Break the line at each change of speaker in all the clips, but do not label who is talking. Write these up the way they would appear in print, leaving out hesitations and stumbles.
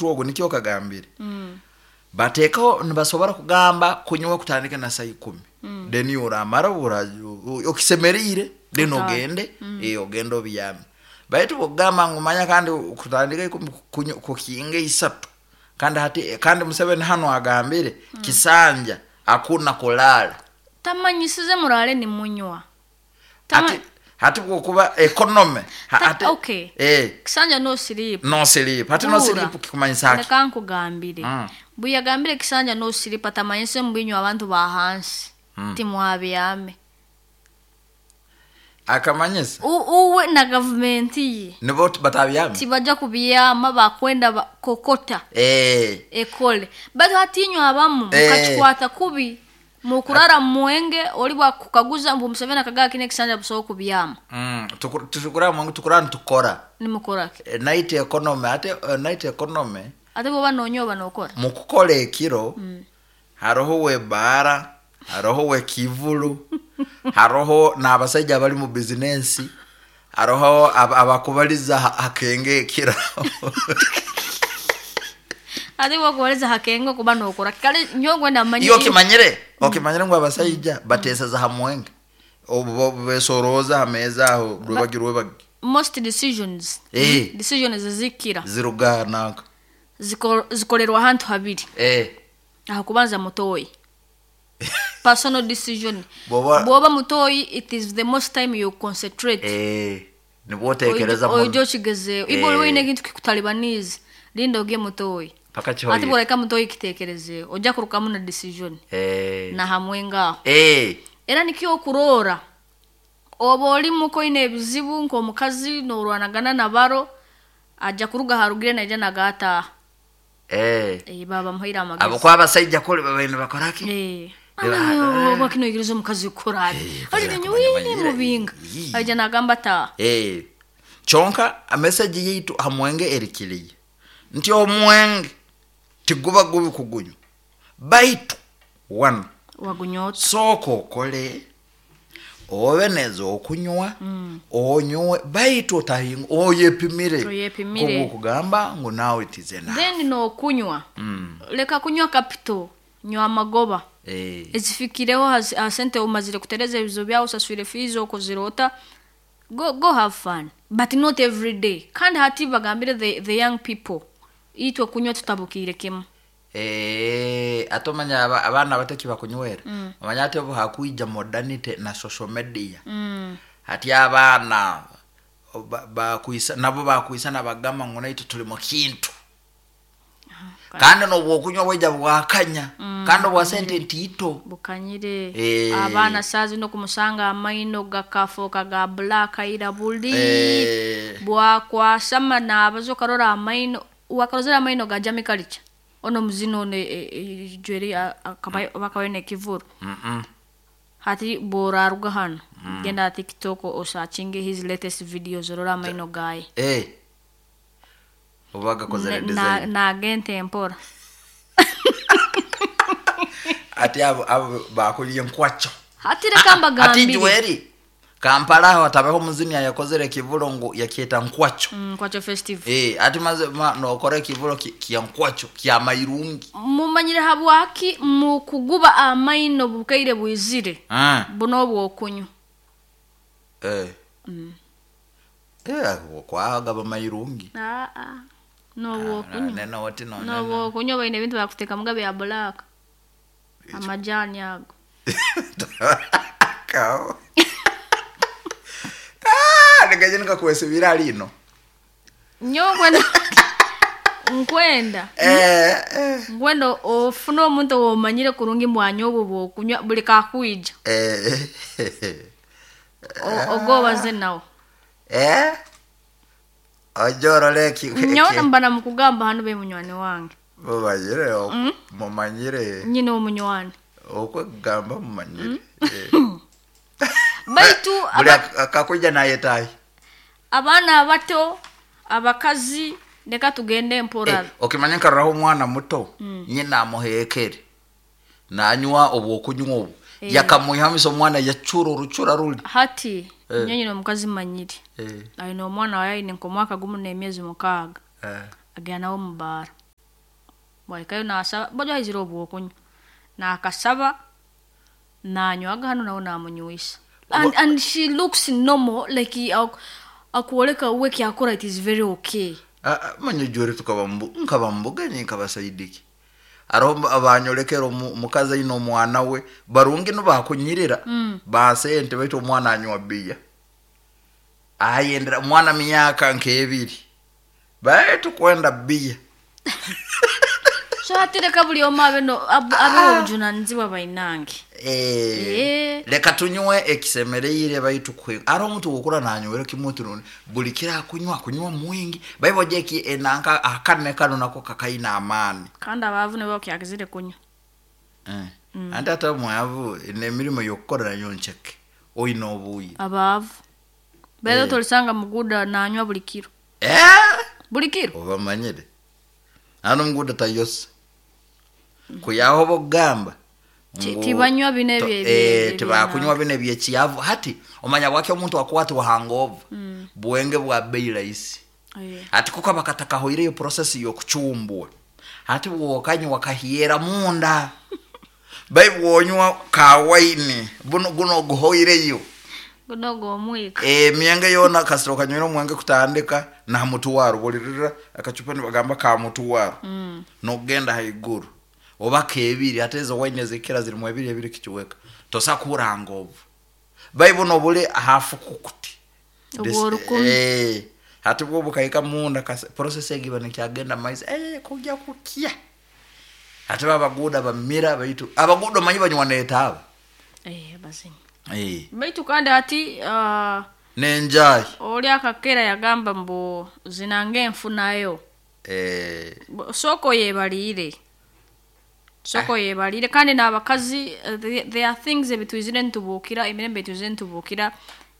Ogu nikyo kagambire, bateekaho nibasobora kugamba kunywa kutandika na saa 10, then oramara okisemeriire, then ogende, ogende obyame. Baitu bwokugamba ngu manya kandi kutandika 10 kukinga 3, kandi hati kandi Museveni hanu agambire kisanja hakuna kulala.
Tamanyisize murale nimunywa.
Hati bwokuba economy hati,
okay. Kisanja no sleep.
No sleep. Hati no sleep kikumanyisa ki?
Leka nkugambire. Buyagambire kisanja no sleep, atamanyise mbinywa abantu ba hansi. Timwabyame.
Akamanyisa
uwe na gavumenti ye
nibo batabyame,
tibajja kubyama, bakwenda kokota ekole. Baitu hatinywa abamu mukakikwata kubi, mukurara mwenge oli bwakukaguza mbu Museveni akagaa kine ekisanja busobola kubyama.
Tukura mwenge, tukura nitukora.
Nimukoraki?
Night economy ate, night economy.
Ate bwoba nonywa oba nokora.
Mukukora ekiro, haroho webaara, haroho wekivulu, haroho n'abasaija abali mu bizinensi, haroho abakubaliza hakenge ekiro.
Ate bwokubaliza hakenge okuba nokora kale nyowe ngwenda manye.
Iyo okimanyire ngu abasaija bateseza ha mwenge, obu besoroza ha meeza aho rwebagi rwebagi.
Most decisions, decisions zikira
ziruga nanka
zikorerwa ahantu habiri. Aho kubanza mutoyi, personal decision. Bwoba mutoyi, it is the most time you concentrate.
Nibwo otekereza muno.
Oija okigezeho ibo oli ekintu kikutalibaniza, linda ogiye mutoyi.
Paka kihoire.
Ate bworeka mutoyi kitekerezeho, ojja kurukamu na decision. Na hamwe ngaho. Era nikyo okurora oba oli muko oine ebizibu nk'omukazi norwanagana na baro, ajja kuruga harugire naija nagataha. Baba bamuhaire amagezi.
Abo kwa abasaija kuli babaine bakoraki?
Oba kino oyigiriza omukazi kukora ati. Ali ninyo wine mubinga. Aija nagamba taha.
Kyonka message yitu hamwenge erikiriye nti omwenge tiguba gubi kugunywa, baitu one
wagunyota.
Sooka okole obe neza okunywa, onywe, baitu otahinga oyepimire.
Oyepimire.
Okugamba ngu nawe it is enough.
Then nokunywa, leka kunywa capital, nywa amagoba. Ezifikireho ha sente omazire kutereza ebizibu byawe, osaswire fees, okozire ota, go have fun, but not every day. Kandi hati bagambire the young people itwe kunywa tutabukire kimu.
Ate omanya abaana abato ekibakunywera, omanya ati obu hakwija modernity na social media, hati abaana bakwisa nabo bakwisa nabagamba ngu naitwe tuli mu kintu. Kandi nobwokunywa bwaija bwakanya, kandi obwa sente ntiito.
Bukanyire. Abaana saa zino kumusanga amaino gakafoka ga black ira buli. Bwakwasama nabaza okarora amaino, wakarozera amaino ga Jamie Kalicha. Ono muzino ono jweri bakabayo nekivuru. Hati boraruga hano, genda TikTok osearchinge his latest videos orora amaino gaye.
Oba gakozere design.
Nagente mpora.
Ati abo bakuliye nkwacho.
Hati reka mbagambire.
Ati jweri Kampala aho atabeho muzini yakozere kivulo ngu yakieta nkwacho.
Nkwacho festival.
Ati maze nokora kivulo kia nkwacho kia mairungi.
Mumanyire habwaki mukuguba amaino bukaire bwizire. Buno bwokunywa.
Kwagaba mairungi.
No bwokunywa.
Nena wati no.
No bwokunywa baine bintu bakuteka mugabe ya black. Amajani ago.
Kao. Nikaje nikakwesibira lino.
Nyo kwenda. Nkwenda. Nkwenda ofuna omuntu omanyire kurungi mwanyo obwo bwokunywa buli kakwija. Ogobaze nawo.
Ojoro leki.
Nyo mbana mukugamba hano be munywani wange.
Mumanyire, mumanyire.
Nyine omunywani.
Okwegamba mumanyire.
Baitu
buli akakuja naye tai.
Abaana abato, abakazi, leka tugende mpora.
Okimanya nkarraho omwana muto, nyina amuhekere. Nanywa obwokunywa obu. Yakamuhamisa omwana yachura oruchura ruli.
Hati, nyina omukazi manyire. Aine omwana waye aine nk'omwaka gumu n'emyezi 6. Agenda nawe mu bara. Bwahikayo nasaba bajya haizire obwokunywa nakasaba nanywaga hano nawe namunywisa and she looks normal like akwoleka we kyakora it is very okay.
Manye jore tukaba nkaba mbugenyi nkabasaidiki aroho abanyolekera omukazi aine omwana we barungi nibakunyirira basente baitu omwana anywa biya ayendera omwana myaka nk'ebiri baitu kwenda biya.
So hati reka buli omu abe abe obujunanizibwa bainange.
Leka tunywe ekisemereire baitu kwe ari omuntu wokura nanywera kimwe tunone buli kira kunywa mwingi baibo jeki enanka akane kano nako kakaina amani
kandi abavu nibo kyagizire kunywa.
Andi ata mwavu nemirimo yokukora nayo ncheke oina obuyi
abavu bado tolisanga muguda nanywa buli kiro. Buli kiro
obamanyire ano muguda tayose kuyaho bogamba
tibanywa bine bye
tibakunywa bine byekiyavu hati omanya bwake omuntu akwati wahangova bwenge bwa bei rahisi. Ati kuko bakataka hoire yo process yo kuchumbwa hati wokanywa wakahiera munda bai wonywa ka wine buno guno guhoireyo
guno gomwika
myenge yona kasiro kanywera omwenge kutandika na mutuwaro bolirira akachupa nibagamba ka mutuwaro nogenda haiguru oba kebiri ate ezo wine zikira ziri mu ebiri ebiri kichiweka tosa kurangovu bai buno bule hafu kukuti hati bwo bukaika munda process egiba nekyagenda maizi kujya kukia hati babaguda bamira baitu abaguda manyi banywa netaba
bazinyi baitu kandi hati
nenjai
oli akakera yagamba mbu zinange enfunayo soko yebalire soko yebalire kandi n'abakazi there are things ebitwizire ntubukira emirembe etwizire ntubukira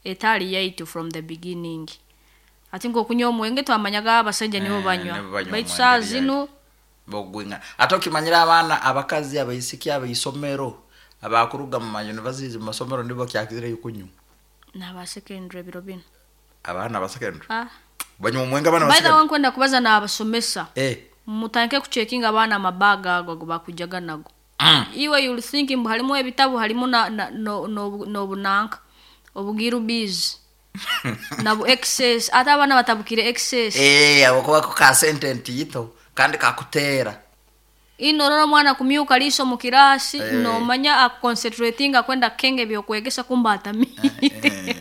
etali yaitu from the beginning. Ati ngokunywa omwenge twamanyaga abasajja nibo banywa baitu saa zino
bogwinga ate okimanyira abaana abakazi abaisiki abaisomero abakuruga mu universities mu masomero nibo kyakizire kunywa
n'aba secondary biro bino
abaana ba secondary banywa omwenge abaana ba secondary.
By the way nkwenda kubaza n'abasomesa mutanke kucheckinga abaana amabaga ago bakujaga nago. Iwe you'll think mbu halimu ebitabo halimu na no bunanka obugiru biz nabo excess ate abaana batabukire excess
abo kuba ka sentence yito kandi kakutera
inorora mwana kumyuka liso mu kirasi nomanya aconcentrating akwenda kenge byokwegesa kumba atamire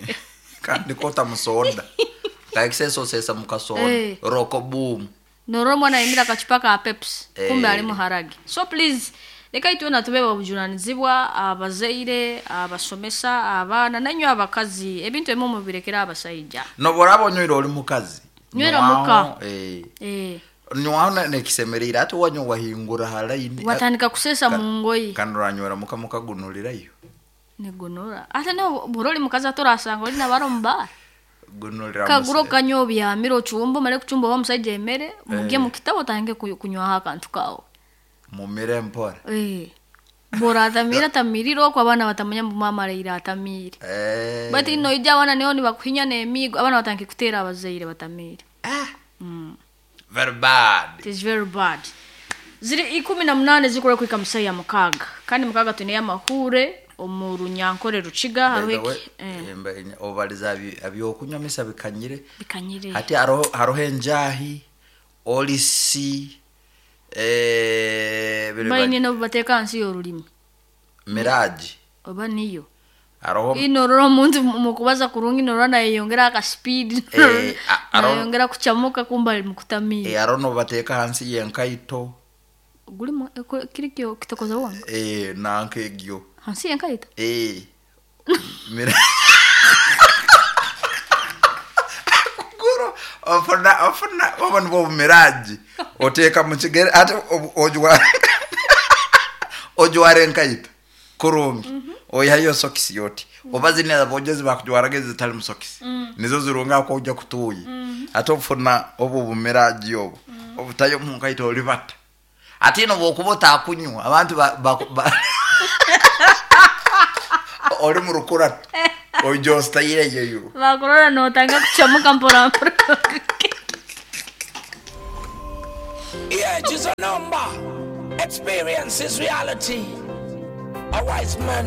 kandi kota musonda ka excess osesa mukasonda roko boom
norora mwana imira kachupa ka Pepsi kumbe ali muharagi. So please leka itwe natubeba obujunanizibwa abazeire abasomesa abaana nanywa abakazi ebintu ebimwe mubirekera abasajja
noborabo nywira oli mukazi
nywira muka
nywana nekisemerera ate wanywa wahingura halaini
watandika kusesa mungoyi
kandi uranywera muka mukagunulirayo
nigunura ate no buroli mukazi atorasanga oli nabaro mba
gunulira
kaguro kanyo byamiro chumbo male kuchumbo wa musajja emere mugiye mu kitabo tange kunywa akantu kawo
mumire mpora
bora atamira tamiriro kwa bana batamanya mbu mama leira atamire but ino ija wana neoni bakuhinya nemigo abana batanke kutera abazeire batamire
Very bad.
It is very bad. Ziri 18 zikora kwika musaya mukaga. Kandi mukaga tune amahure omurunyankore ruchiga haruhe
obaliza abyokunywa misa bikanyire.
Bikanyire.
Hati harohe njahi olisi
Baine no bateka ansi yorulimi.
Miraji.
Oba niyo.
Aroho
inorora omuntu mukubaza kurungi norora nayeyongera aka speed. Nayeyongera kuchamuka kumba mukutamira.
Arono bateka hansi yenkaito.
Gulimo kirikyo kitokoza wangu.
Nanke egyo.
Hansi yenkaito.
Mira. Guro ofuna obona bo miraji. Oteka mu kigere ate ojwa ojware enkaito. Kurungi. Oyayo sokisi yoti. Oba zine abojezi bakujwarageze zitali musokisi. Nizo zirunga ko ujya kutuyi. Ate ofuna obu bumiraji obu. Obutayo mu nkaito olibata. Ate no bokubota akunywa abantu ba oli mu rukura. Ojosta ile yeyo.
Bakurora no tanga kuchamuka mpora mpora.
Yeah, just a number. Experience is reality. A wise man.